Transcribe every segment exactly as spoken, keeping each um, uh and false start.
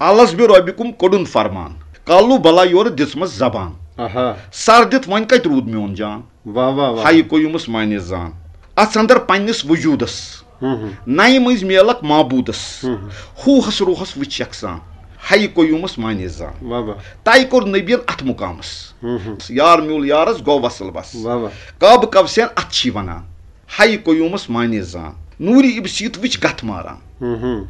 الس بہِ رۄبہِ کُم کوٚڑُن فرمان، کالو بلا یورٕ دِژمس زبان۔ آہا۔ سر دِتھ وۄنۍ کتہِ روٗد میون جان؟ واہ، واہ، واہ۔ ہایہِ قیوٗمس معنی زان۔ اتھ اندر پننِس وجوٗدس۔ ہُم، ہُم۔ نَیہِ مٔنٛزۍ میلکھ معبوٗدس۔ ہُم، ہُم۔ ہوٗہس روحس وٕچھ یکسان۔ ہایہِ قیوٗمس معنی زان۔ واہ، واہ۔ طے کوٚر نبین اتھ مقامس۔ ہُم، ہُم۔ یار میوٗل یارس گوٚو وصل بس۔ واہ، واہ۔ کعبہٕ کوثین اتھ چھی ونان۔ ہایہِ قیوٗمس معنی زان۔ نوٗرِ ابسیت وٕچھ گتھ ماران۔ ہُم، ہُم۔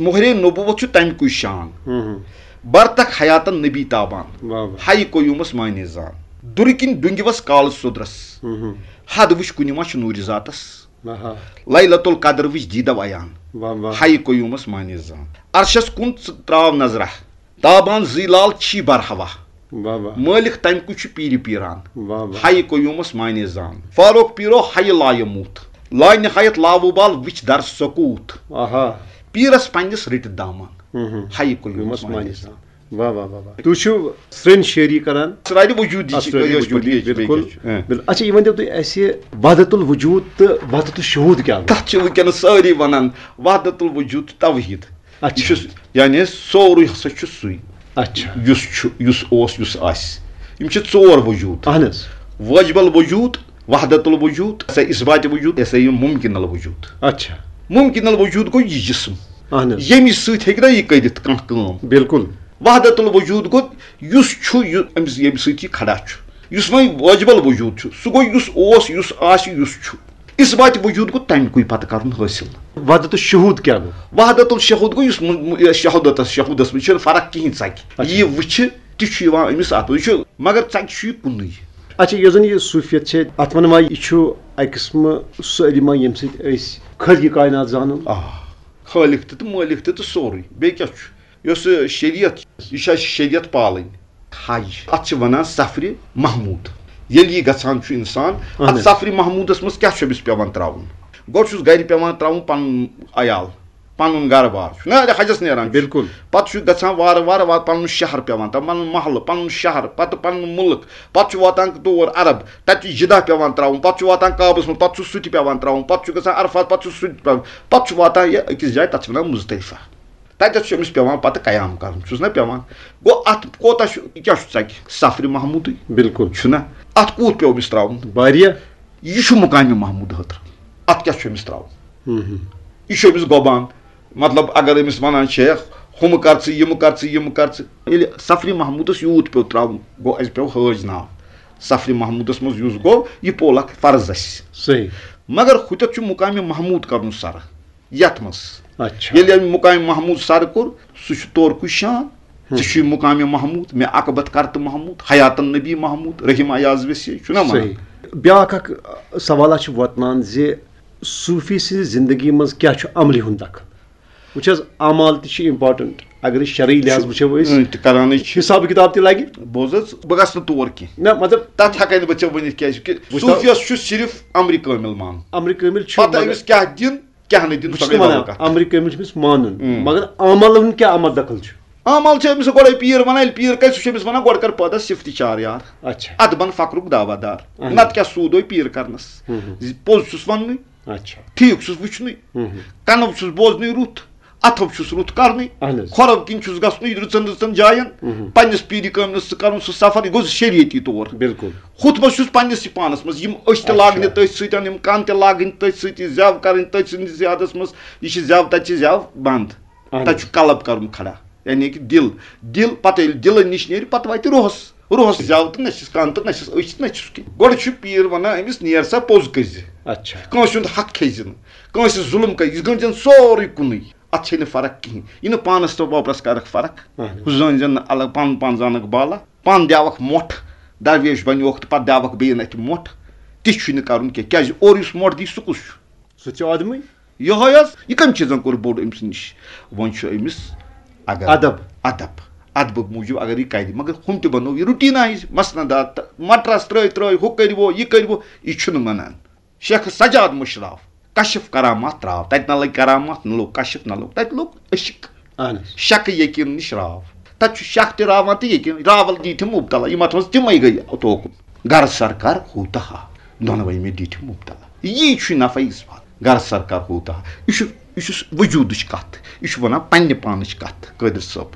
مۄہرے نبوت چھُ تمہِ کُے شان۔ ہُم، ہُم۔ برتخ حیاتن نبی تابان۔ واہ، واہ۔ ہایہِ قیوٗمس معنی زان۔ دُرٕ کِنۍ ڈُنگِوس کالہٕ سُدرس۔ ہُم، ہُم۔ حد وٕچھ کُنہِ ما چھُ نوٗرِ ذاتس۔ آہا۔ لیلۃ القدر وٕچھ دیٖدو عیان۔ واہ، واہ۔ ہایہِ قیوٗمس معنی زان۔ عرشس کُن ژٕ تراو نظرہ۔ تابان زٕے لال چھی برہوا۔ واہ، واہ۔ مٲلِک تمہِ کُے چھُ پیٖرِ پیٖران۔ واہ، واہ۔ ہایہِ قیوٗمس معنی زان۔ فاروق پیٖرو ہایہِ لایموٗت۔ لا نہایت لاوُبال وٕچھ در سکوٗت۔ آہا۔ پیٖرس پننِس رٔٹِتھ دامن۔ ہُم، ہُم۔ ہایہِ قیوٗمس قیوٗمس معنی معنی زان۔ زان۔ واہ، واہ، واہ، واہ۔ تُہۍ چھِو سرٛنۍ شٲعری کران؟ اسرارِ وجوٗدی چھِ، اسرارِ کیٛاہ چھِ وجوٗدی، پوٚتُے، بِلکُل۔ بِلکُل۔ ہاں۔ بِل-، اچھا، یہِ ؤنۍ تو تُہۍ اَسہِ وحدت الوجود تہٕ وحدت الشہود کیٛاہ گوٚو؟ تَتھ چھِ وٕنکیٚنَس سٲری وَنان وحدت الوجود تہٕ توحید۔ اچھا۔ یہِ چھُ، یعنی سورُے ہسا چھُ سُے۔ اچھا۔ یُس چھُ، یُس اوس، یُس آسہِ۔ یِم چھِ ژور وجوٗد۔ اہن حظ۔ واجب الوجود، وحدت الوجود، یہِ ہسا اثبات وجود، یہِ ہسا یہِ ممکن الوجود۔ اچھا۔ ممکن الوجود گوٚو یہِ جسم۔ اہن حظ۔ ییٚمہِ سۭتۍ ہیٚکہِ نہ یہِ کٔرِتھ کانٛہہ کٲم۔ بِلکُل۔ وحدت الوجود گوٚو یُس چھُ، یہِ، أمِس، ییٚمہِ سۭتۍ یہِ کھڑا چھُ۔ یُس وۄنۍ واجب الوجود چھُ، سُہ گوٚو یُس اوس، یُس آسہِ، یُس چھُ۔ اثبات وجود گوٚو تَمہِ کُے پتہٕ کرُن حٲصِل۔ وحدت الشہود کیٛاہ گوٚو؟ وحدت الشہود گوٚو یُس م-، م-، شہودتس، شہودس منٛز چھُنہٕ فرق کِہینۍ ژکہِ۔ اچھا۔ یہِ وٕچھِ، تہِ چھُ یِوان أمِس اَتھ منٛز۔ یہِ چھُ، مگر ژکہِ چھُ یہِ کُنُے۔ اچھا، یۄس زن یہِ صوٗفیت چھِ، اتھ ونہٕ ما یہِ چھُ اکہِ قٕسمہٕ سُہ علم ییٚمہِ سۭتۍ أسۍ خٲلقِ کائنات زانو؟ آ، خٲلق تہِ تہٕ مٲلِک تہِ تہٕ سورُے۔ بیٚیہِ کیٛاہ چھُ؟ یۄس یہِ شریعت، یہِ چھِ اَسہِ شریعت پالٕنۍ۔ ہاے، اَتھ چھِ وَنان سفرِ محمود۔ ییٚلہِ یہِ گژھان چھُ اِنسان، اَہن اَتھ حظ۔ سفرِ محمودَس منٛز کیٛاہ چھُ أمِس پٮ۪وان ترٛاوُن؟ گۄڈٕ چھُس گَرِ پٮ۪وان ترٛاوُن پَنُن عیال، پَنُن گَرٕ بار چھُ نہ حجَس نیران چھُ۔ بِلکُل۔ پَتہٕ چھُ گژھان وارٕ وارٕ وارٕ پَنُن شہر پٮ۪وان ترٛاوُن، پَنُن محلہٕ، پَنُن شہر، پَتہٕ پَنُن مُلک، پَتہٕ چھُ واتان تور عرب، تَتہِ چھُ جِدہ پٮ۪وان ترٛاوُن، پَتہٕ چھُ واتان کعبَس منٛز، پَتہٕ چھُ سُہ تہِ پٮ۪وان ترٛاوُن، پَتہٕ چھُ گژھان عرفات، پَتہٕ چھُ سُہ تہِ پٮ۪وان، پَتہٕ چھُ واتان یہِ أکِس جایہِ، تَتھ چھِ وَنان مُزدَلِفہ۔ تَتٮ۪تھ چھُ أمِس پٮ۪وان پَتہٕ قیام کَرُن، چھُس نہ پٮ۪وان؟ گوٚو اَتھ کوٗتاہ چھُ، یہِ کیٛاہ چھُ ژَکہِ؟ سفرِ محمودٕے۔ بِلکُل۔ چھُنہ؟ اَتھ کوٗت پیوٚو أمِس ترٛاوُن؟ واریاہ۔ یہِ چھُ مُقامِ محمود ہٲترٕ۔ اَتھ کیٛاہ چھُ أمِس ترٛاوُن؟ ہُم ہُم۔ یہِ چھُ أمِس گۄبان۔ مطلب، اگر أمِس وَنان چھِ، "ہُمہٕ کر ژٕ، یِمہٕ کر ژٕ، یِمہٕ کر ژٕ"، ییٚلہِ سفرِ محمودَس یوٗت پیوٚو ترٛاوُن، گوٚو اَسہِ پیوٚو حٲج ناو۔ سفرِ محمودَس منٛز یُس گوٚو، یہِ پوٚل اَکھ فرض اَسہِ۔ صحیح۔ مگر ہُتٮ۪تھ چھُ مُقامِ محمود کَرُن سَرٕ۔ یتھ منٛز۔ اچھا۔ ییٚلہِ أمۍ مُقامِ محمود سر کوٚر، سُہ چھُ تورکُے شان۔ ہم۔ ژےٚ چھُے مُقامِ محمود، مےٚ عقبت کرتہٕ محمود، حیاتن نبی محمود، رحیم ایاز ویسے، چھُنہ وَنان؟ صحیح۔ بیٛاکھ اکھ، ٲ، سوالہ چھُ وۄتلان زِ صوٗفی سٕنٛزِ زندگی منٛز کیٛاہ چھُ عملہِ ہُنٛد دخل؟ وٕچھ حظ، اعمال تہِ چھِ important۔ اگر أسۍ شرعی لحاظ چھُ، وٕچھو أسۍ، اۭں، تہِ کران چھِ۔ حساب کِتاب تہِ لگہِ۔ بوز حظ، بہٕ گژھٕ نہٕ تور کینٛہہ۔ نہ، مطلب، تتھ ہٮ۪کے نہٕ بہٕ ژےٚ ؤنِتھ، کیازِ کہِ وٕچھ تو، صوٗفیس چھُ صرف امرِ کٲمل مانُن۔ امرِ کٲمل چھُ، پتہٕ مگر أمِس کیٛاہ دِن، کیٛاہ نہٕ دِن، بہٕ سۄ چھُس گٔے نہٕ بدل وَنان، کَتھ۔ امرِ کٲمِل چھُ أمِس مانُن، اۭں۔ مگر عملن کیٛاہ عمل دخل چھُ؟ عمل چھُ أمِس گۄڈَے پیٖر وَنان، ییٚلہِ پیٖر کَرِ، سُہ چھُ أمِس وَنان، "گۄڈٕ کَر پٲدٕ صِفتی چار یار۔ اچھا۔ اَدٕ بَن فقرُک دعویٰ دار۔ اہن۔ نَتہٕ کیٛاہ سوٗدوے پیٖر کَرنَس؟ ہُم، ہُم۔ زِ پوٚز چھُس وَننُے، اچھا۔ ٹھیٖک چھُس وٕچھنُے، ہُم، ہُم۔ کَنو چھُس بوزنُے رُت، اَتھو چھُس رُت کَرنُے، اہن حظ۔ کھۄرو کِنۍ چھُس گژھنُے رٕژَن رٕژَن جایَن، ہُم، ہُم۔ پنٛنِس پیٖرِ کٲمِلَس سۭتۍ کَرُن سُہ سفر، یہِ گوٚو شریعتی طور۔" بِلکُل۔ ہُتھ منٛز چھُس پننِسٕے پانس منٛز یِم أچھ تہِ اچھا۔ لاگنہِ تٔتھۍ سۭتۍ، یِم کن تہِ لاگٕنۍ تٔتھۍ سۭتۍ، یہِ زٮ۪و کرٕنۍ تٔتھۍ سٕنٛدِس زیادس منٛز، یہِ چھِ زٮ۪و، تتہِ چھِ زٮ۪و بنٛد۔ اہن تتہِ حظ۔ چھُ قلب کرُن کھڑا، یعنی کہِ دِل۔ دِل پتہٕ ییٚلہِ دِلہٕ نِش نیرِ، پتہٕ واتہِ روحس۔ روحس زٮ۪و تہٕ نہ چھِس کن تہٕ نہ چھِس أچھ تہٕ نہ چھِس کِہیٖنۍ۔ گۄڈٕ چھُ پیٖر ونان أمِس، "نیر سا پوٚز کٔرۍ زِ۔" اچھا۔ کٲنٛسہِ ہُنٛد حق کھیٚیہِ زِ نہٕ، کٲنٛسہِ ظُلم کٔرۍ، یہِ گٔنٛڈۍ زٮ۪ن سورُے کُنُے۔ اتھ چھے نہٕ فرق کِہیٖنۍ۔ یہِ نہٕ پانس تہٕ وۄپرس کرکھ فرق۔ اہن۔ ہُہ زٲنۍ زٮ۪ن نہٕ الگ، پنُن پان زانکھ بالا۔ پانہٕ دِوکھ مۄٹھ، درویش بنیوکھ تہٕ پتہٕ دِوکھ بیٚیہِ اَتھِ مۄٹھ۔ تہِ چھُے نہٕ کرُن کینٛہہ۔ کیازِ اورٕ یُس مۄٹھ دی، سُہ کُس چھُ؟ سُہ تہِ چھُ آدمٕے۔ یِہوٚے حظ، یہِ کٔمۍ چیٖزن کوٚر بوٚڑ أمۍ سٕنٛدِ نِش؟ وۄنۍ چھُ أمِس اگر ادب۔ ادب۔ ادبہٕ موٗجوٗب اگر یہِ کرِ، مگر ہُم تہِ بنوو یہِ routine آیہِ، مسندات تہٕ مٹرس ترٲے ترٲے، ہُہ کٔرِو، یہِ کٔرِو، یہِ چھُنہٕ مانان۔ شیخ سجاد مشراف، کشف کرامات تراو۔ تتہِ نہ لٔگۍ کرامات، نہ لوٚگ کشف، نہ لوٚگ، تتہِ لوٚگ عشق۔ اہن حظ۔ شک یقین نِش راو۔ تتہِ چھُ شک تہِ راوان تہٕ یقین، راول دی تِم مبتلا۔ یِم اتھ منٛز تِمے گٔے توکُن۔ گر سرکار ہوتا ہا، دۄنوے مےٚ دِتھ مبتلا۔ یی چھُ نفع اثبات۔ گر سرکار ہوتا ہا۔ یہِ چھُ، یہِ چھُ وجودٕچ کتھ۔ یہِ چھُ ونان پننہِ پانٕچ کتھ، قٲدر صٲب۔